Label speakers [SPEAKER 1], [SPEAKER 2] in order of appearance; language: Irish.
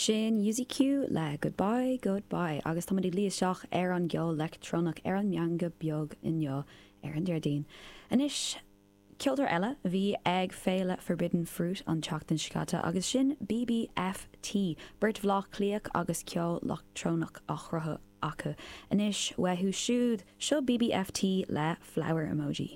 [SPEAKER 1] Sin UZQ le Goodbye, Goodbye agus táimid ag luí isteach ar an gceol leictreonach ar an Meangadh Beag inniu ar an Déardaoin. Anois, ceoltóir eile a bhí ag Féile Forbidden Fruit an tseachtain seo caite agus sin BBFT, beirt Bhaile Átha Cliathach agus ceol leictreonach á chruthú acu. Anois, uathu siúd, seo BBFT le Flower Emoji.